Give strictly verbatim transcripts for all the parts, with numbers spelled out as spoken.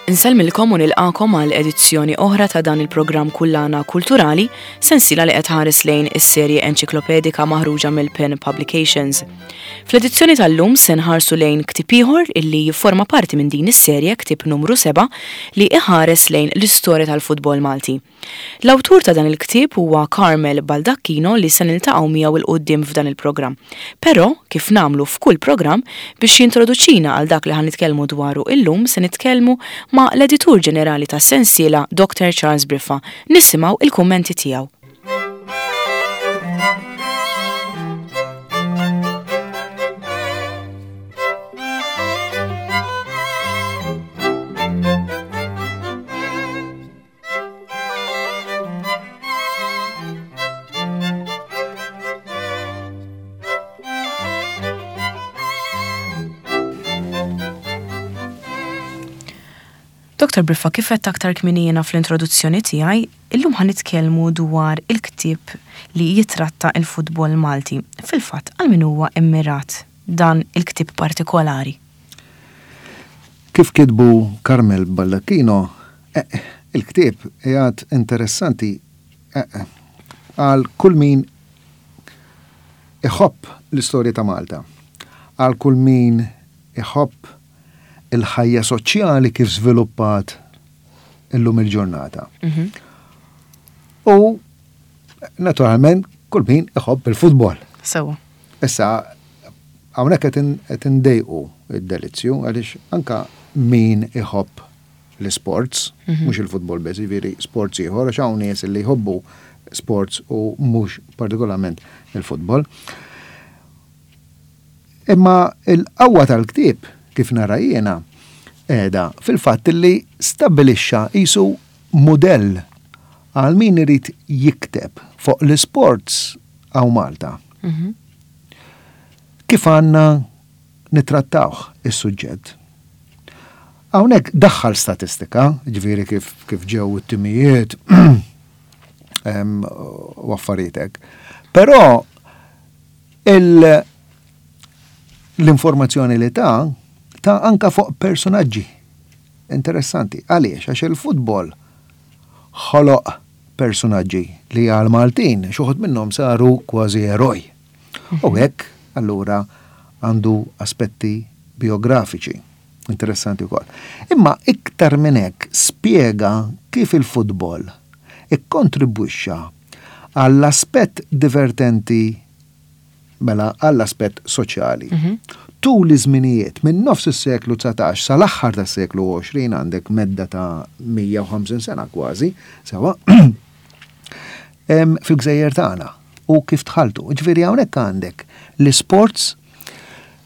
Insellmilkom u nilqakom għal edizzjoni oħra ta' dan il-programm Kullana Kulturali, sensiela li qed tħares lejn is-serje enċiklopedika maħruġa mill-Pen Publications. Fl-edizzjoni tal-lum se nħarsu lejn ktieb ieħor illi jifforma parti minn din is-serje, ktieb numru seba', li iħares lejn l-istorja tal-futbol Malti. L-awtur ta' dan il-ktieb huwa Carmel Baldacchino li se niltaqgħu miegħu 'l quddiem f'dan il-programm. Però, kif nagħmlu f'kull programm, biex jintroduċina għal dak li ħa nitkellmu dwaru illum se nitkellmu ma' l-editur ġenerali tas-sensiela Doctor Charles Briffa. Nisimgħu il-kummenti tiegħu. Doctor Briffa, kif għedt aktar kmieni jiena fl-introduzzjoni tiegħi, illum ħa nitkellmu dwar il-ktieb li jitratta il-futbol Malti. Fil-fatt, għal min huwa immirat dan il-ktieb partikolari? Kif kitbu Carmel Baldacchino, eh, il-ktieb qiegħed interessanti, eh, għal kull min iħobb l-istorja ta' Malta, għal kull min iħobb il-ħajja soċjali kif żviluppat illum il-ġurnata. Mhm. U naturalment kull min iħobb il-futbol. Sewa. Issa hawnhekk qed in-, qed indejqu id-delizzju għaliex anka min iħobb l-sports, Mhm. mhux il-futbol biss, jiġifieri sports ieħor, għax hawn nies li jħobbu sports u mhux partikolarment il-futbol. Imma il-qawwa tal-ktieb kif nara jiena qiegħda fil-fatt li stabbilixxa qisu mudell għal min irid jikteb fuq l-sports hawn Malta. Mhm. Kif għandna nittrattawh is-suġġett. Hawnhekk daħħal statistika, ġifieri kif, kif ġew it-timijiet, em, u affarijiet hekk. Però il-, l-informazzjoni li ta' ta' anka fuq personaġġi interessanti. Għaliex? Għax il-futbol ħoloq personaġġi li għal Maltin xi wħud minnhom saru kważi eroj. U hekk allura għandu aspetti biografiċi interessanti wkoll. Imma iktar minn hekk spjega kif il-futbol ikkontribwixxa għall-aspett divertenti, mela għall-aspett soċjali. Mhm. Tul iż-żminijiet minn nofs is-seklu dsatax sal-aħħar tas-seklu għoxrin għandek medda ta' mija u ħamsin sena kważi, sewa, em, fil-gżejjer tagħna u kif tħaltu. Ġifieri hawnhekk għandek l-isports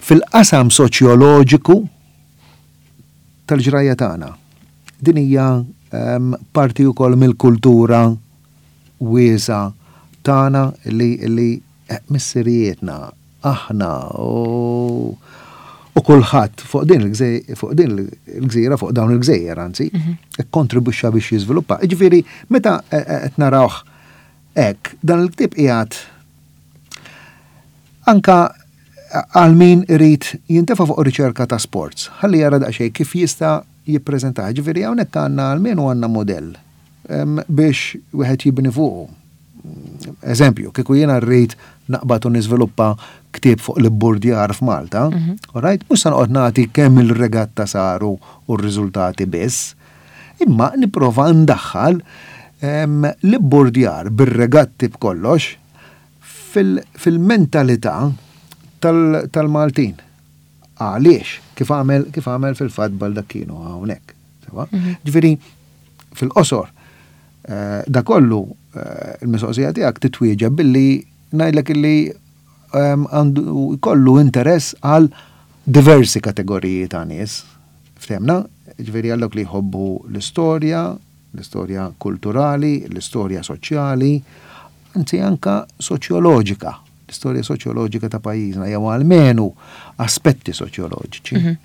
fil-qasam soċjoloġiku tal-ġrajja tagħna. Din hija, em, parti wkoll mill-kultura wiesa tagħna li, li, eh, missirijietna, aħna u, u kulħadd fuq din il-gżej-, fuq din il-gżira, fuq dawn il-gżejjer, anzi, Mhm. ikkontribwixxa biex jiżviluppa. Jiġifieri, meta, eh, eh, qed narawh hekk, dan il-ktieb qiegħed anka għal min irid jintefa' fuq riċerka ta' sports, ħalli jara daqsxejn kif jista' jippreżentah. Ġifieri hawnhekk għandna almenu għandna modell, em, biex wieħed jibni fuqu. Eżempju, kieku jiena rrid naqbad u niżviluppa ktieb fuq l-ibburdjar f'Malta, Mhm. all right, mhux se noqgħod nagħti kemm il-regatta saru u r-riżultati biss, imma nipprova ndaħħal, em, l-ibburdjar bir-regatti b'kollox fil-, fil-mentalità tal-, tal-Maltin. Għaliex? Kif għamel, kif għamel fil-fatt Baldacchino hawnhekk. Sewa? Mhm. Ġifieri, fil-qosor, eh, da kollu, eh, il-mistoqsija tiegħek titwieġeb billi ngħidlek illi, ehm, għandu jkollu interess għal diversi kategoriji ta' nies. Ftemna? Ġifieri għal dawk li jħobbu l-istorja, l-istorja kulturali, l-istorja soċjali, anzi anka soċjoloġika, l-istorja soċjoloġika ta' pajjiżna, jew almenu aspetti soċjoloġiċi. Mhm.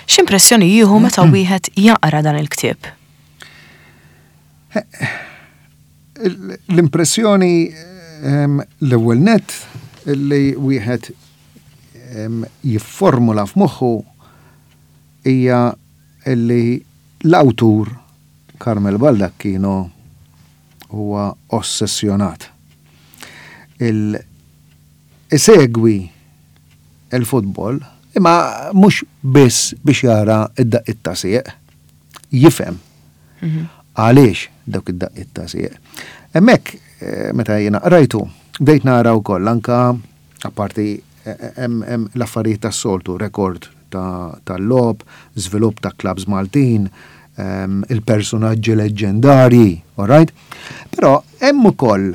X'impressjoni jieħu meta wieħed jaqra dan il-ktieb? Eh, l-impressjoni, ehm, l-ewwel nett li wieħed, ehm, jifformula f'moħħu hija li L-awtur Carmel Baldacchino huwa ossessjonat. Il isegwi il-futbol imma mhux biss biex jara id-daqqiet ta' sieq, jifhem għaliex dawk id-daqqiet ta' sieq. Hemmhekk eh, meta jiena qrajtu, bdejt nara wkoll anka apparti eh, hemm l-affarijiet tas-soltu, rekord tal-logħob, żvilupp ta' clubs Maltin, ehm, il-personaġġi leġġendarji, all right? Però hemm ukoll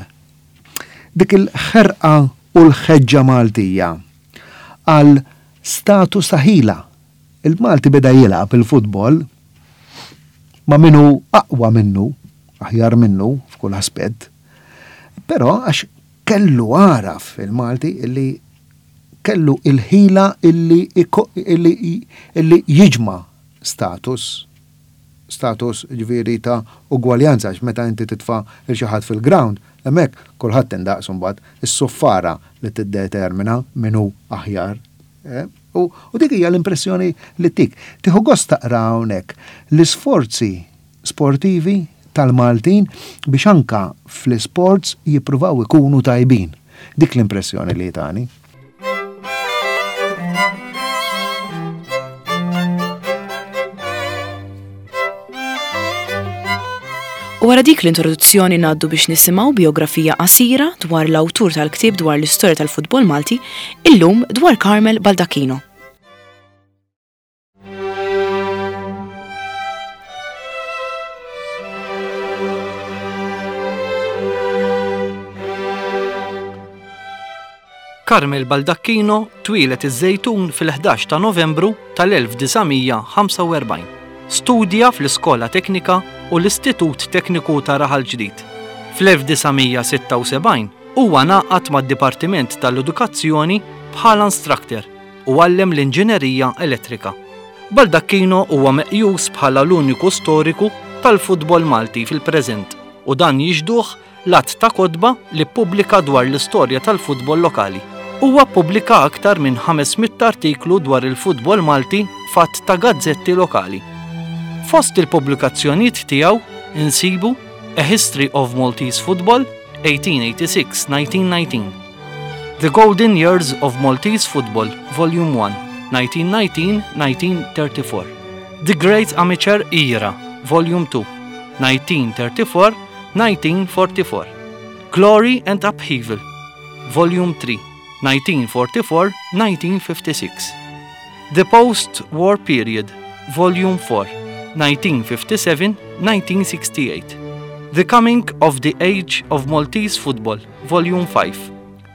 dik il-ħerqa u l-ħeġġa Maltija għal status ta' ħila. Il-Malti beda jilgħab il-futbol ma' minnu aqwa minnu, aħjar minnu f'kull aspett, però għax kellu għaraf il-Malti illi kellu il-ħila illi, illi, illi jiġma status status ġifieri ta' ugwaljanza għax meta inti titfa' il xi ħadd fil-ground, hemmhekk kulħadd indaqs imbagħad is-suffara li tiddetermina min hu aħjar. Eh? U, u dik hija l-impressjoni li tik. Tieħu gost taqra hawnhekk l-isforzi sportivi tal-Maltin biex anka fl-sports jippruvaw ikunu tajbin. Dik l-impressjoni li tani. U wara dik l-introduzzjoni ngħaddu biex nisimgħu biografija qasira dwar l-awtur tal-ktieb dwar l-istorja tal-futbol Malti, illum dwar Carmel Baldacchino. Carmel Baldacchino twieled iż-Żejtun fil-ħdax ta' Novembru tal-elf disa' mija ħamsa u erbgħin. Studja fl-Iskola Teknika u l-Istitut Tekniku ta' Raħal Ġdid. Fl-elf disa' mija sitta u sebgħin huwa ngħaqad mad-Dipartiment tal-Edukazzjoni bħala instructor u għallem l-Inġinerija Elettrika. Baldacchino huwa meqjus bħala l-uniku storiku tal-futbol Malti fil-preżent u dan jixduh l-att ta' kotba li ppubblika dwar l-istorja tal-futbol lokali. Huwa ppubblika aktar minn ħames mitt artiklu dwar il-futbol Malti f'għadd ta' gazzetti lokali. Fost il-pubblikazzjonijiet tiegħu insibu A History of Maltese Football eighteen eighty-six nineteen nineteen, The Golden Years of Maltese Football Volume one nineteen nineteen nineteen thirty-four, The Great Amateur Era Volume two nineteen thirty-four nineteen forty-four, Glory and Upheaval Volume three nineteen forty-four nineteen fifty-six, The Post-War Period Volume four nineteen fifty-seven nineteen sixty-eight, The Coming of the Age of Maltese Football Volume five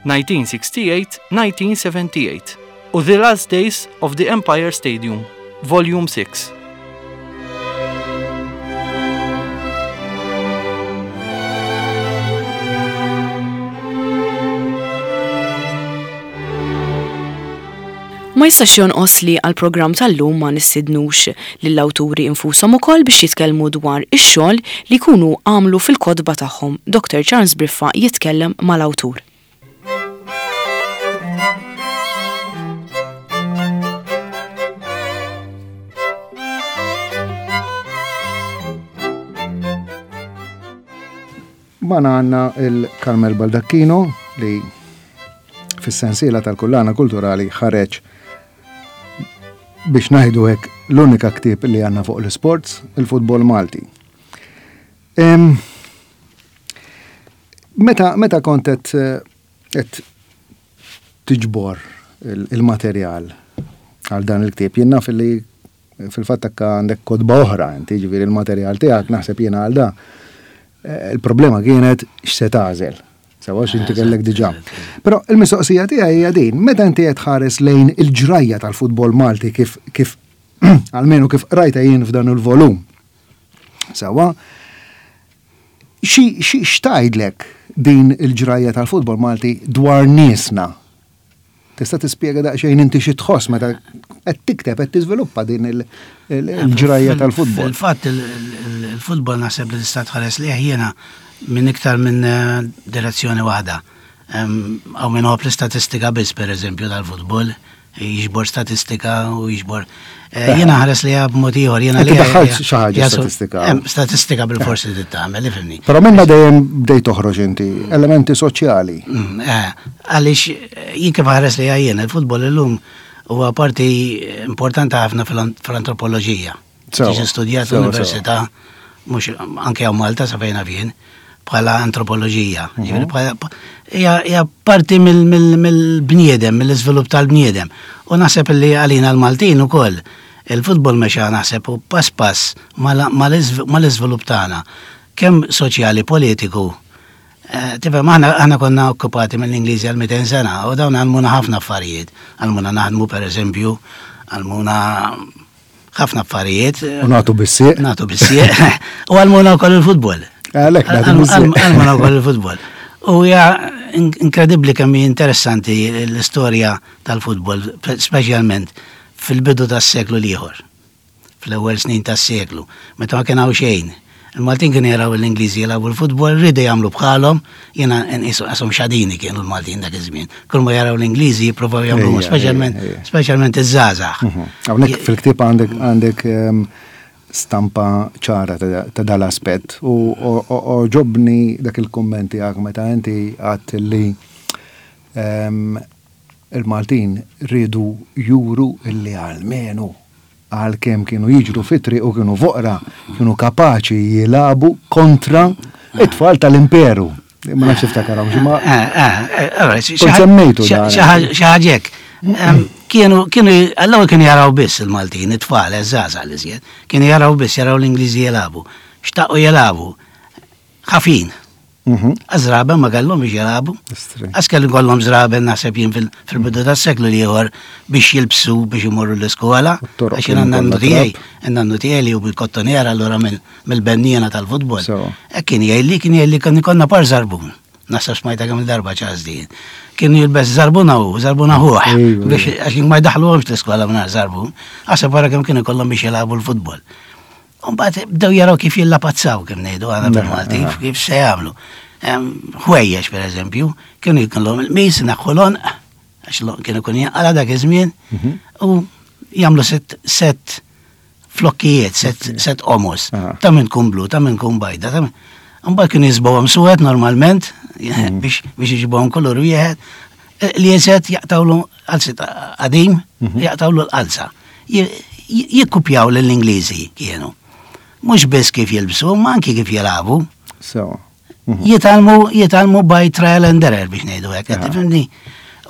nineteen sixty-eight nineteen seventy-eight u The Last Days of the Empire Stadium Volume six. Ma jistax jonqos li għall-programm tal-lum ma nistidnux lill-awturi infushom ukoll biex jitkellmu dwar ix-xogħol li jkunu għamlu fil-kotba tagħhom. Doctor Charles Briffa jitkellem mal-awtur. Magħna għandna il-Carmel Baldacchino li fis-sensiela tal-kullana kulturali ħareġ biex ngħidu hekk l-unika ktieb li għandna fuq l-sports, il-futbol Malti. Em, meta, meta kont qed, qed tiġbor il-, il-materjal għal dan il-ktieb, jien naf li fil-fatt akka għandek kotba oħra, inti ġifieri il-materjal tiegħek naħseb jiena għal da. Eh, il-problema kienet x'se tagħżel. Sewa x'inti kellek diġà. Però il-mistoqsija tiegħi hija din, meta inti qed tħares lejn il-ġrajja tal-futbol Malti kif, kif almenu kif qrajta jien f'dan il-volum. Sewa, xi, xi x'tgħidlek din il-ġrajja tal-futbol Malti dwar niesna? Tista' tispjega daqsxejn inti xi tħoss meta qed tikteb qed tiżviluppa din il-, il-, il-ġrajja Fil- tal-futbol? Fil-fatt il-, il-, il-futbol naħseb li tista' tħares lih jiena minn iktar minn, eh, direzzjoni waħda. Em, Hawn min iħobb l-istatistika biss pereżempju tal-futbol, Jiġbor statistika u jiġbor. Eh, jiena nħares lejha b'mod ieħor, jiena li daħħalt xi ħaġa statistika. Statistika bil-forsi li tagħmel, ifhimni. Però minna dejjem bdejt toħroġ inti elementi soċjali. Mm, eh, għaliex jien kif nħares lejha jien, il-futbol illum huwa parti importanti ħafna fl-antropoloġija. Tiġi studjat l-università, mhux anke hawn Malta sa fejn jien, bħala antropoloġija. Mhm. Hija parti mill-bniedem, mill-iżvilupp tal-bniedem. U naħseb li għalina l-Maltin ukoll il-futbol mexa naħseb u pass pass mal-iżvilupp tagħna. Kemm soċjali, politiku. Eh, tifhem, aħna aħna konna okkupati mill-Ingliżi għal mitejn sena u dawn għallmuna ħafna affarijiet. Għallmuna naħdmu, per eżempju, għallmuna ħafna affarijiet. U nagħtu bis-sieq. Nagħtu bis-sieq. U għallmuna wkoll il-futbol. Għalhekk nagħtu bis-sieq. Għallmuna wkoll il-futbol. U hija inkredibbli kemm hi interessanti l-istorja tal-futbol, speċjalment fil-bidu tas-seklu l-ieħor, fl-ewwel snin tas-seklu, meta ma kien hawn xejn. Il-Maltin kienu jaraw l-Ingliżi jilagħbu l-futbol, riedu jagħmlu bħalhom, jiena nqishom xadini kienu l-Maltin dak iż-żmien. Kull ma jaraw l-Ingliżi jippruvaw jagħmlu, speċjalment speċjalment iż-żgħażagħ. Mhm. Hawnhekk fil-ktieb għandek għandek ehm, stampa ċara ta' dal-aspett u għoġobni dak il-kummenti għak meta inti għedt li ehm, il-Maltin riedu juru illi għalmenu għal kemm kienu jiġru fit-triq u kienu foqra, kienu kapaċi jilagħbu kontra it-tfal tal-imperu. Ma nafx tiftakarhom, ma kont semmejtu dan. Xi ħaġa hekk. Kienu, kienu, għall kienu jaraw biss il-Maltin, it-tfal, iż-żgħażagħ li żjed, kienu jaraw biss, jaraw l-Ingliżi jilagħbu. Xtaqu jilagħbu. Ħafin. Mhm. Żraben ma kellhom biex jilagħbu. Għax kellu kollhom żraben naħseb jien fil-bidu tas-seklu l-ieħor biex jilbsu biex imorru l-iskola. Għax jien nannu tiegħi, nannu tiegħi li hu bil-kottonera allura mill-benniena tal-futbol. Kien jgħidli, kien jgħidli kien ikollna par żarbun. Naħseb smajta kemm il-darba ċas din. Kienu jilbes żarbuna u żarbuna ħuħ biex għax ma jdaħluhomx l-iskola mingħajr żarbun. Għaseb wara kemm kienu kollhom biex jilagħbu l-futbol. Mbagħad bdew jaraw kif jillapazzaw, kif ngħidu aħna bil-Malti, kif se jagħmlu. Ħwejjeġ, per eżempju, kienu jkollhom il-qmis naħħu l-għonq, għax kienu kun jinqala dak iż-żmien, mhm. u jagħmlu set set flokkijiet, set set omos, ta' minn tkun blu, ta' minn tkun bajda, ta' Mbagħad kienu jiżbgħuhom suwed normalment mhm. biex biex iġibuhom kolor wieħed, li jeżet jaqtawlu qalzit qadim, mhm. jaqtawlu l-qalza. Jikkupjaw lill-Ingliżi kienu. Mhux biss kif jilbsu, ma anki kif jilagħbu. So. Jitgħallmu jitgħallmu by trial and error biex ngħidu hekk, tifhimni?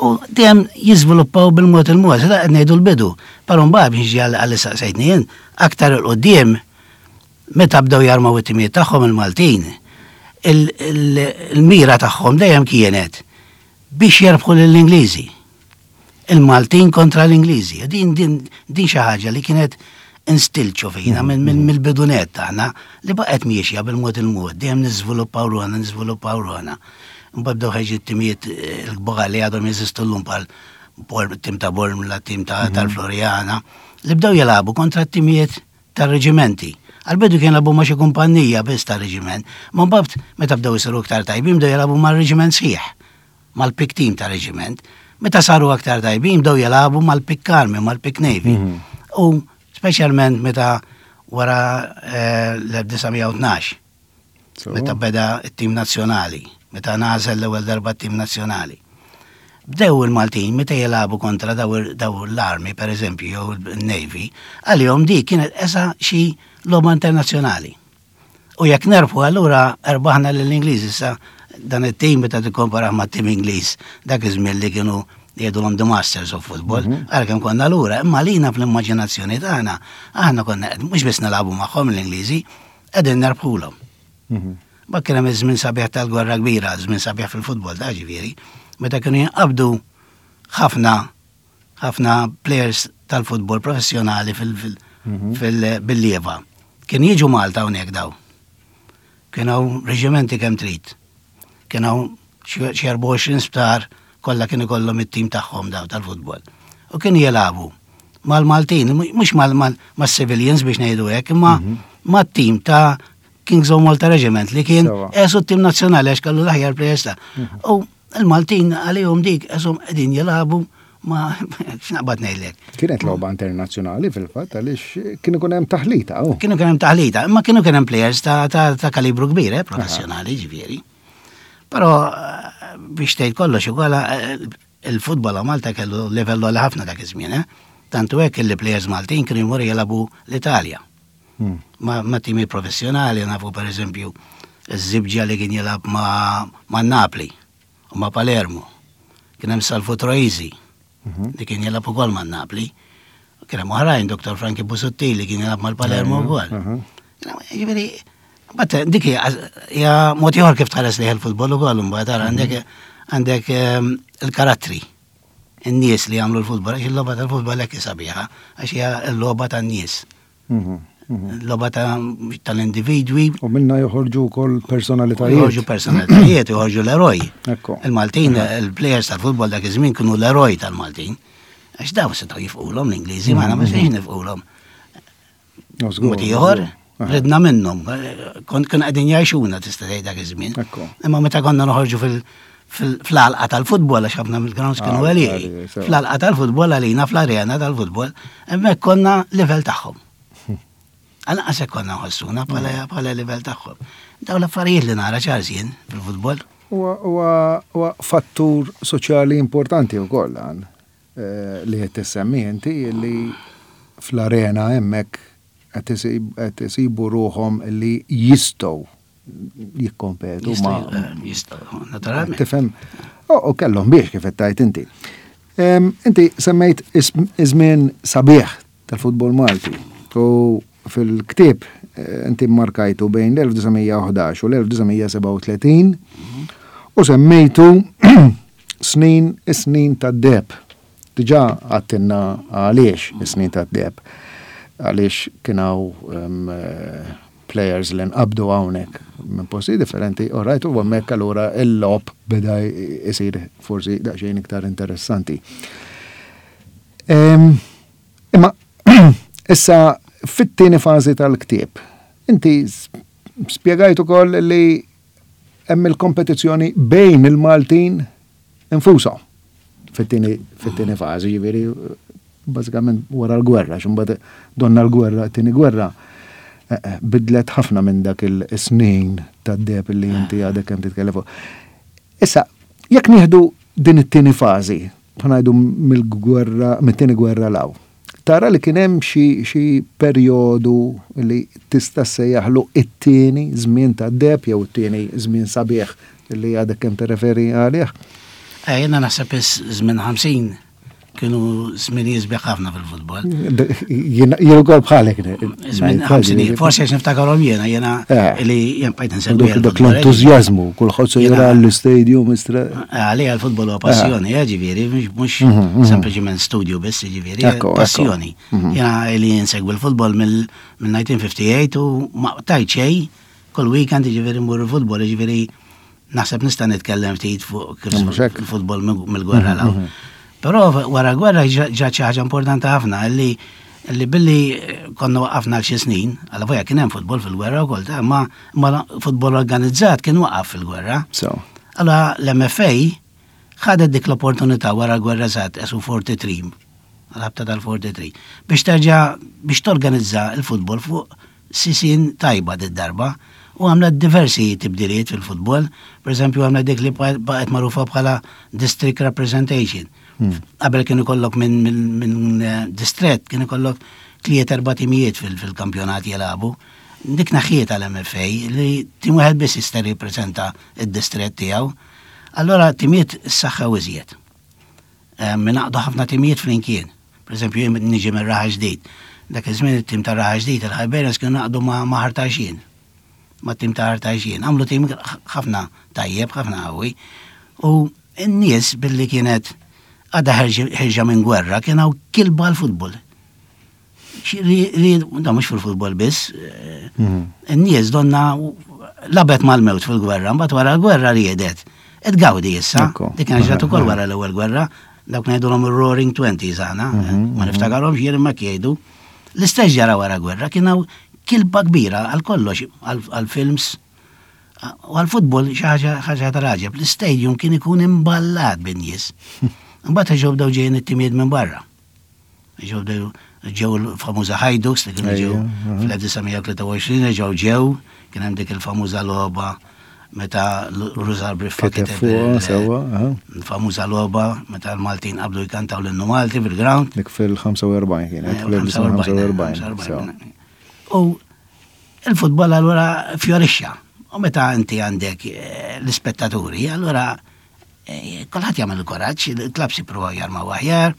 U dejjem jiżviluppaw bil-mod il-mod, da qed ngħidu l-bidu. Però mbagħad biex niġi għal saqsejtni jien, aktar 'il quddiem meta bdew jarmaw it-timijiet tagħhom il-Maltin, il-mira tagħhom dejjem kienet biex jerbħu lill-Ingliżi. Il-Maltin kontra l-Ingliżi. Din din din xi ħaġa li kienet instilċu fina mill-bidunet tagħna li baqgħet miexja bil-mod il-mod, dejjem niżviluppaw ruħna, niżviluppaw ruħna. Mbagħad bdew ħeġ it-timijiet l-kbar li għadhom jeżistu llum bħal tim ta' Bormla, tim tal-Floriana, li bdew jilagħbu kontra t-timijiet tar-reġimenti. Għal-bidu kien jilagħbu ma' xi kumpanija biss tar-reġiment, ma mbagħad meta bdew isiru iktar tajbin bdew jilagħbu mar-reġiment sħiħ, mal-pick team tar-reġiment. Meta saru aktar tajbin bdew jilagħbu mal-pick army, mal-pick navy. U speċjalment meta wara l-elf disa' mija u tnax, meta beda it-tim nazzjonali, meta nażel l-ewwel darba t-tim nazzjonali. Bdew il-Maltin meta jilagħbu kontra daw l-army, per eżempju, jew il-Navy, għalihom di kienet esa xi logħba internazzjonali. U jekk nerbħu allura erbaħna lill-Ingliż. Issa dan it-tim meta tikkomparah ma' tim Ingliż dak iż-żmien li kienu jgħidulhom the Masters of Football, għalkemm konna lura, imma lina fl-immaġinazzjoni tagħna aħna konna mhux biss nilagħbu magħhom l-Ingliżi, qegħdin nerbħulhom. Ba kien hemm iż-żmien sabiħ tal-Gwerra Kbira, żmien sabiħ fil-futbol ta' ġifieri, meta kienu jinqabdu ħafna ħafna players tal-futbol professjonali fil-bil-lieva. Kien jiġu Malta hawnhekk daw. Kien hawn reġimenti kemm trid. Kien hawn xi erbgħa u għoxrin sptar kollha kien ikollhom it-tim tagħhom daw tal-futbol. U kien jilagħbu mal-Maltin, mhux mal-civilians biex ngħidu hekk, imma mat-tim ta' Kings of Malta Regiment li kien esu t-tim nazzjonali għax kellu l-aħjar players ta'. U il-Maltin għalihom dik esom qegħdin jilagħbu Ma x'naqbad ngħidlek. Kienet logħba internazzjonali fil-fatt għaliex kien ikun hemm taħlita. Oh. Kienu kien hemm taħlita, imma kienu kien hemm players ta', ta, ta' kalibru kbir, eh, professjonali ġifieri. Però eh, biex tgħid kollox ukoll eh, il-futbol a Malta kellu livell għoli ħafna dak iż-żmien, eh? Tantu hekk li players Maltin kienu jmorru jilagħbu l-Italja. Hmm. Ma, ma timi professjonali nafu per eżempju iż-Żibġa li kien jilgħab ma, ma Napli u ma Palermo. Kien hemm Salvu Troisi li kien jilgħab ukoll ma' Napli. Kien hemm oħrajn Dottor Frankie Busuttil li kien jilgħab mal-Palermo wkoll. Ġifieri, mbagħad dik hija hija mod ieħor kif tħares lejh il-futbol ukoll imbagħad tara għandek għandek ehm, il-karattri in-nies li jagħmlu l-futbol, għax il-logħba tal-futbol hekk sabiħa, għax hija l-logħba tan-nies. Mhm, mhm. L-logħba ta' tal-individwi, U minna joħorġu wkoll personalitajiet. joħorġu personalitajiet, joħorġu l-eroj. Ekku. Il-Maltin, il-players tal-futbol dak iż-żmien kienu l-eroj tal-Maltin. Għax daw setgħu jifqulhom l-Ingliżi, ma ma sejx nifqulhom. No, żgur, Mod ieħor, żgur. Aha. ridna minnhom, kont kien qegħdin jgħixuna tista' tgħid dak iż-żmien. Ekku. Imma meta konna noħorġu fil- fil- fl-għalqa tal-futbol, għax ħafna mill-grounds kienu Ah, għalieqi. għalieqi, sew. Fl-għalqa tal-futbol għalina, fl-arena tal-futbol, hemmhekk konna livell tagħhom. Għalqas hekk konna nħossuna bħala bħala livell tagħhom. Daw l-affarijiet li nara Charles jien fil-futbol. Huwa huwa- huwa fattur soċjali importanti wkoll għan eh, li qed tissemmi inti li fl-arena hemmhekk qed isib- qed isibu ruħhom li jistgħu jikkompetu ma' Jistgħu, jistgħu, naturalment. Tifhem, u kellhom biex kif qed tgħid inti. Em, Inti semmejt is- iż-żmien sabiħ tal-futbol Malti u fil-ktieb eh, inti markajtu bejn l-elf disa' mija u ħdax u l-elf disa' mija sebgħa u tletin u semmejtu snin is-snin tad-deheb. Diġà għedtilna għaliex is-snin tad-deheb. Għaliex kien hawn em, eh, players li nqabdu hawnhekk minn posti differenti, u rajt u hemmhekk allura il-logħob beda isir forsi daqsxejn iktar interessanti. Em, Imma issa fit-tieni fażi tal-ktieb, inti s- spjegajt ukoll li hemm il-kompetizzjoni bejn il-Maltin infushom fit-tieni fit-tieni fażi, ġifieri bażikament wara l-gwerra, x'imbagħad donna l-gwerra, t-tieni gwerra eh, eh, bidlet ħafna minn dak il-snin tad-deheb li inti għadek kemm titkellem fuq. Issa, jekk nieħdu din it-tieni fażi, ngħidu mill-gwerra, mit-tieni gwerra 'l hawn, tara li kien hemm xi xi perjodu li tista' ssejjaħlu it-tieni żmien tad-deheb jew it-tieni żmien sabiħ li għadek kemm tirreferi għalih? Eh, Jiena naħseb iż-żmien ħamsin kienu żmien jisbieħ ħafna fil-futbol. Jien jien ukoll bħalek. Żmien ħamsinijiet, forsi għax niftakarhom jiena, jiena Eh. li jien bqajt insegwi Dak dak l-futbol, l-entużjażmu, kulħadd se Jiena- jara l-istadium istra. Għalija l-futbol huwa passjoni, eh, ġifieri, mhux mhux Mhm, mhm. sempliċiment studju biss, ġifieri, Ekku, ekku. passjoni. Mhm. Jiena li insegwi l-futbol mill-elf disa' mija u tmienja u ħamsin u ma qtajt xejn, kull weekend ġifieri mmur il-futbol, ġifieri naħseb nista' nitkellem ftit fuq kif Mhux hekk. il-futbol mill-gwerra Mhm, 'l hawn. mhm. Però wara gwerra ġa xi ħaġa importanti ħafna li li billi konna waqafna għal xi snin, għal voja kien hemm futbol fil-gwerra wkoll, ta' ma ma futbol organizzat kien waqaf fil-gwerra. So. Allora l-M F A ħadet dik l-opportunità wara l-gwerra żgħat esu tlieta u erbgħin, għal-ħabta tal-tlieta u erbgħin, biex terġa' biex torganizza il-futbol fuq sisin tajba d-darba u għamlet diversi tibdiliet fil-futbol, per eżempju għamlet dik li baqgħet magħrufa bħala district representation. Hmm. Qabel kien ikollok minn min, min eh, distret, kien ikollok tliet erba' timijiet fil- fil-kampjonat jilagħbu. Dik neħħiet għal M F A li tim wieħed biss jista' jirrappreżenta id-distret tiegħu. Allora timijiet saħħew iżjed. Eh, Ingħaqdu ħafna timijiet flimkien. Per eżempju, jien niġi minn Raħal Ġdid. Dak iż-żmien it-tim ta' Raħal Ġdid, il-Hibernians kienu ngħaqdu ma' ma' Ħal Tarxien. Ma' tim ta' Ħal Tarxien. Għamlu tim ħafna tajjeb, ħafna qawwi. U n-nies billi kienet għadha ħerġa minn gwerra kien hawn kilba l-futbol. Da mhux fil-futbol biss, eh, Mhm. n-nies donna lagħbet mal-mewt fil-gwerra, mbagħad wara l-gwerra riedet. Tgawdi issa, Ekku. dik kien ġrat ukoll wara l-ewwel gwerra, dawk ngħidulhom ir-Roaring Twenties aħna, Mhm, ma niftakarhomx jien imma jgħidu. L-istess ġara wara gwerra, kien hawn kilba kbira għal kollox, għal films, u għal futbol xi ħaġa ħaġa tal-għaġeb. L-istadium kien ikun imballat bin-nies. Imbagħad ġew bdew ġejjin it-timijiet minn barra. Ġew bdew ġew il-famuża Hajduks li kienu ġew fl-elf disa' mija u tlieta u għoxrin, ġew ġew, kien hemm dik il-famuża logħba meta Rużar Briffa Kiteb kiteb fuqha, il- sewwa, aha. il-famuża logħba meta l-Maltin qabdu jkantaw l-innu Malti fil-ground. Dik fil-ħamsa u erbgħin kienet, Eh, fl-elf disa' mija u ħamsa u erbgħin, ħamsa u erbgħin, sewa. U il-futbol allura fjorixxa. U meta inti għandek, eh, l-ispettaturi, allura, eh, kulħadd jagħmel il-kuraġġ, il-klabs jippruvaw jarmaw aħjar,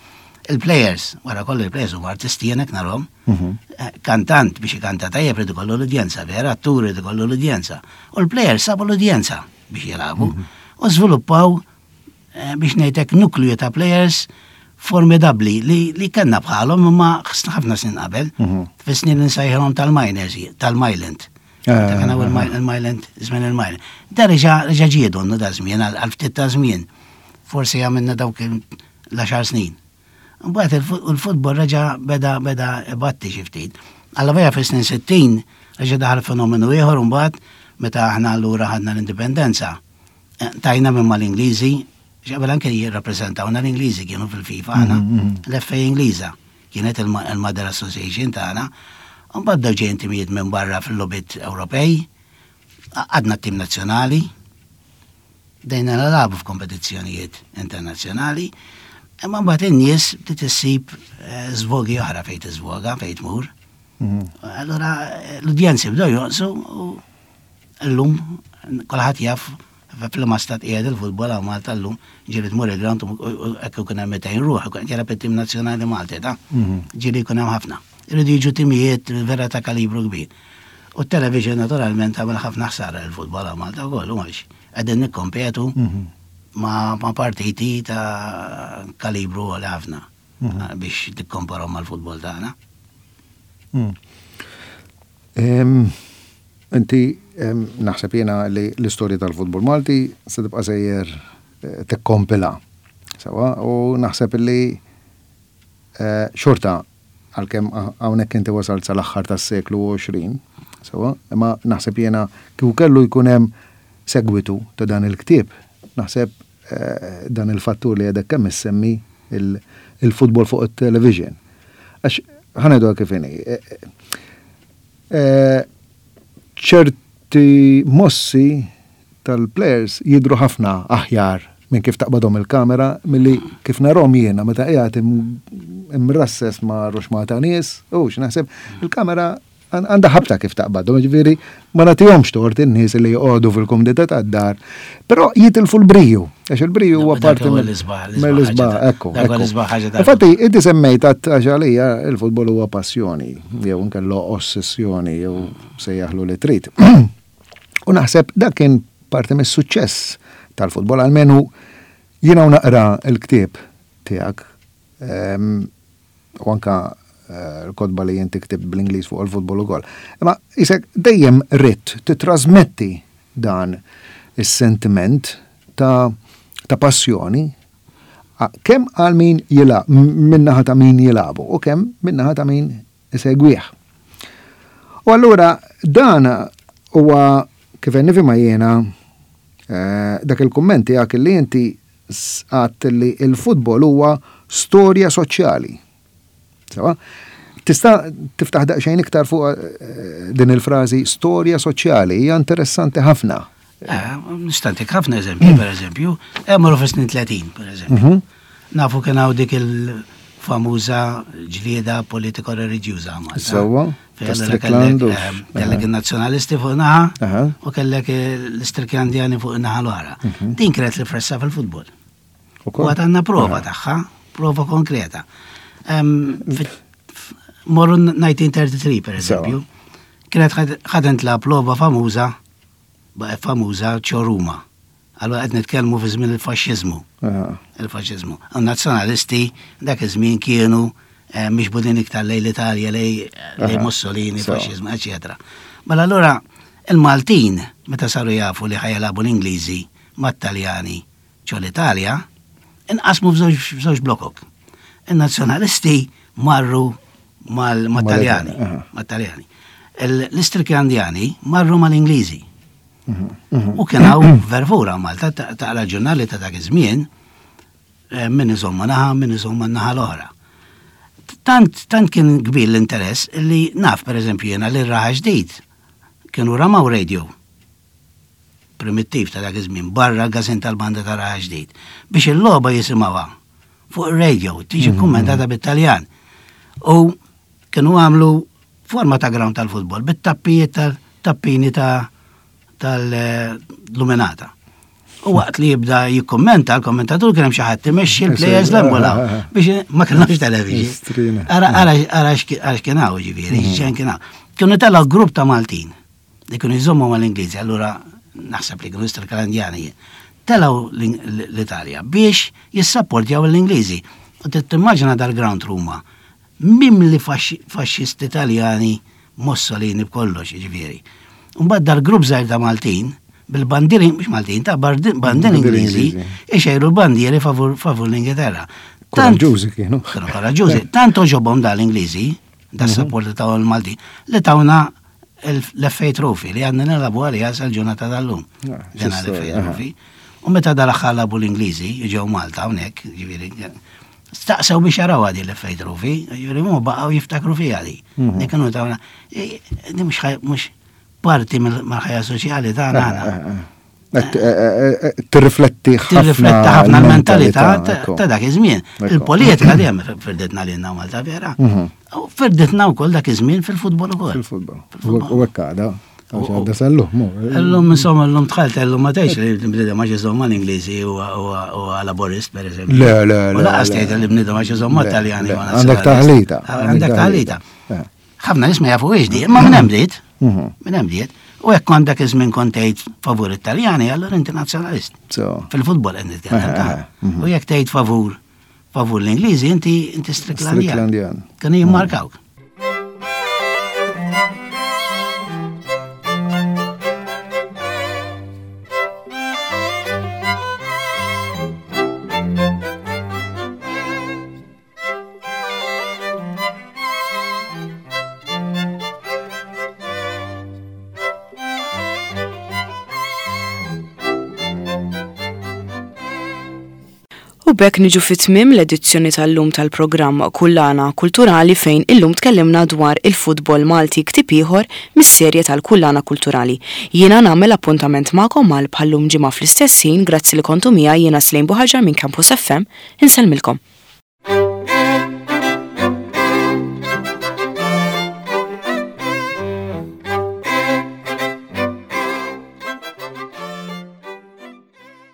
il-players, wara kollu il-players huma artisti jenek narhom. Mhm. Eh, kantant biex ikanta tajjeb irid ikollu l-udjenza, vera, attur irid ikollu l-udjenza. U l-players sabu l-udjenza biex jilagħbu Mhm. u żviluppaw, eh, biex ngħidlek nukliju ta' players formidabbli li, li kellna bħalhom imma ħafna snin qabel, Mhm. fis-snin li nsejħilhom tal-miners, tal-Myland. Eh, Ta' kien hawn eh, il-Myland, il-Myland, żmien il-Myland. Da reġa', reġa' ġie donnu da żmien għal, għal ftit ta' żmien. Forsi għamilna dawk l-għaxar snin. Mbagħad il-fu-, il-futbol reġa' beda, beda ibatti xi ftit. Alla veja fis-snin sittin reġa' daħal fenomenu ieħor mbagħad meta aħna allura ħadna l-indipendenza. Eh, tajna minn mal-Ingliżi, x'qabel anke jirrappreżentawna l-Ingliżi kienu fil-FIFA aħna, Mhm, mhm. l-F A Ingliża kienet il-Ma-, il-Mother Association tagħna. Mbagħad bdew ġejjin timijiet minn barra fil-logħbiet Ewropej, għadna t-tim nazzjonali, dejna nilagħbu f'kompetizzjonijiet internazzjonali, imma mbagħad in-nies bdiet issib, eh, żvogi oħra fejn tiżvoga, fejn tmur. Mhm. Allura, eh, l-udjenzi bdew jonqsu u llum kulħadd jaf fl-ma stat qiegħed il-futbol hawn Malta llum, ġieli tmur il-ground u, u hekk ikun hemm mitejn ruħ, ikun qed jilgħab it-tim nazzjonali Malti, ta' Mhm. ġieli jkun hemm ħafna. Iridu jiġu timijiet vera ta' kalibru kbir. U t-television naturalment għamel ħafna ħsara l-futbol hawn Malta wkoll, u għaliex qegħdin nikkompetu Mhm. ma, ma partiti ta' kalibru għal ħafna Mhm. biex tikkomparaw mal-futbol tagħna. Mm. Em, inti, em, naħseb jiena li l-istorja tal-futbol Malti se tibqa' sejjer, eh, tikkompila. Sewa, u naħseb li, eh, xorta għalkemm ha-, hawnhekk inti wasalt sal-aħħar tas-seklu għoxrin, sewa, imma naħseb jiena kieku kellu jkun hemm segwitu ta' dan il-ktieb, naħseb, eh, dan il-fattur li għadek kemm issemmi il-, il-futbol fuq it-television. Għax ħa ngħidu kif inhi, eh, eh, ċerti mossi tal-players jidru ħafna aħjar minn kif taqbadhom il-kamera milli kif narhom jiena meta qiegħed im-, imrasses ma' ruxma ta' nies, u x'naħseb il-kamera għan-, għandha ħabta kif taqbadhom, ġifieri ma nagħtihomx tort in-nies li joqogħdu fil-kumdità tad-dar, però jitilfu l-briju, għax il-briju huwa Dak parti huwa mill- l-isbaħ, l-isbaħ mill-isbaħ, ħaġa ta' ekku, dak huwa ekku. l-isbaħ ħaġa ta' Infatti, inti semmejt għax għalija il-futbol huwa passjoni, jew inkella ossessjoni, jew sejjaħlu li trid. U naħseb dak kien parti mis-suċċess tal-futbol, almenu jiena u naqra l-ktieb tiegħek, ehm, u anka, eh, l-kotba li inti ktibt bl-Ingliż fuq il-futbol ukoll. Imma isek dejjem ridt titrasmetti dan is-sentiment ta', ta' passjoni a-, kemm għal min jilgħab, min-naħa ta' min jilagħbu u kemm min-naħa ta' min isegwih. U allura dan huwa kif nifhimha jiena, eh, dak il-kumment tiegħek li inti għadt li il-futbol huwa storja soċjali. Sewa? Tista' tiftaħ daqsxejn iktar fuq, eh, din il-frażi storja soċjali, hija interessanti ħafna. Eh, nista' ntik ħafna eżempji, per eżempju, marru fis-snin tletin, per eżempju. Mhm. Nafu kien hawn dik il-famuża ġlieda politiko-reliġjuża Malta. Sewwa, Fejn ta' allura Strickland u kellek, eh, kellek il-nazzjonalisti fuq naħa Aha. u kellek l-Istricklandjani fuq naħa l-oħra. Mhm. Din kienet li fressa fil-futbol. Ukoll? U għad għandna prova Aha. tagħha, prova konkreta. Em, fit-, Morru nineteen thirty-three, per Sewa. eżempju, kienet ħad-, ħadent la prova famuża, ba-, famuża ċoruma. Allora qed nitkellmu fi żmien il-faxxiżmu. Aha. Il-faxxiżmu. U nazzjonalisti dak iż-żmien kienu, eh, mixbudin iktar lejn l-Italja, lej, lej Aha. Mussolini, Sewa. faxxiżmu, eċetera. Mela allura il-Maltin meta saru jafu li ħajalabu l-Ingliżi mat-Taljani ġo l-Italja, inqasmu f'żewġ, f'żewġ blokok. Il-nazzjonalisti marru mal-, mat-Taljani, Aha. mat-Taljani. Il-, L-Istricklandjani marru mal-Ingliżi. Mhm, mhm. U kien hawn vervura Malta ta-, taqra ġurnali ta' dak iż-żmien, Eh, min iżomm ma' naħa, min iżomm man-naħa l-oħra. Tant, tant kien kbir l-interess li naf, per eżempju, jena li Raħal Ġdid kienu ramaw radio primittiv ta' dak iż-żmien barra l-każin tal-banda ta' Raħal Ġdid biex il-logħba jisimgħuha fuq ir-radio tiġi kommentata bit-Taljan. U kienu għamlu forma ta' ground tal-futbol bit-tappijiet tal-tappini ta' tal-luminata. U waqt li jibda jikkommenta, l-kommentatur kien hemm xi ħadd imexxi l-players l-embola biex ma kellhomx television. Ara ara ara x'kien hawn ġifieri, x'kien kien hawn. Kienu telgħu grupp ta' Maltin li kienu jżommu mal-Ingliżi, allura naħseb li kienu Stricklandjani. Telgħu l-Italja biex jissapportjaw l-Ingliżi. U timmaġina dal-ground Ruma, mimli faxxisti Italjani, Mussolini b'kollox, ġifieri. Mbagħad dal-grupp żgħir ta' Maltin, bil-bandieri, mhux Maltin, ta' bandieri Ingliżi, ixejru l-bandieri favur favur l-Ingilterra. Koraġġużi kienu. Kienu koraġġużi. Tant għoġobhom dal-Ingliżi, da support ta' l-Maltin, li tawna l-F A Trophy li għadna nilagħbu għalija sal-ġurnata tal-lum. Ah, Dena l-F A Trophy. U meta dal-aħħar lagħbu l-Ingliżi, ġew Malta hawnhekk, ġifieri, staqsew biex jaraw għadi l-F A Trophy, ġifieri mu baqgħu jiftakru fiha di. Mhm. Li kienu tawna, di mhux mhux parti mill-ħajja soċjali tagħna aħna. Tirrifletti ħafna. Tirrifletti ħafna l-mentalità ta' dak iż-żmien. Ekku. Il-politika dejjem firditna lilna Malta vera. Mhm. U firditna wkoll dak iż-żmien fil-futbol ukoll. Fil-futbol. U hekk għada. Għax għadda sal-lum. mu. Illum insomma illum dħalt illum ma tgħidx li l-bniedem għax iżomm mal-Ingliżi u laburist per eżempju. Le, le, U le, lanqas le. tgħid li bniedem għax iżomm Le, mat-Taljani le. u Għandek taħlita. Għandek taħlita. Eh. Ħafna nies ma jafu di, imma minn hemm bdiet. Mhm. Minn hemm bdiet. U jekk kont dak iż-żmien kont tgħid favur it-Taljani, allura inti nazzjonalist. So. Fil-futbol qed nitkellem Eh, ta' eh, mhm. U jekk tgħid favur favur l-Ingliżi, inti inti Stricklandjan. Stricklandjan. Kienu jimmarkawk. U b'hekk niġu fit-tmiem l-edizzjoni tal-lum tal-programm Kullana Kulturali fejn illum tkellimna dwar il-futbol Malti, ktieb ieħor mis-serje tal-Kullana Kulturali. Jiena nagħmel appuntament magħkom għal bħallum ġimgħa fl-istess ħin, grazzi li kontu miegħi. Jiena Slejn Buħaġar minn Campus F M, insellmilkom.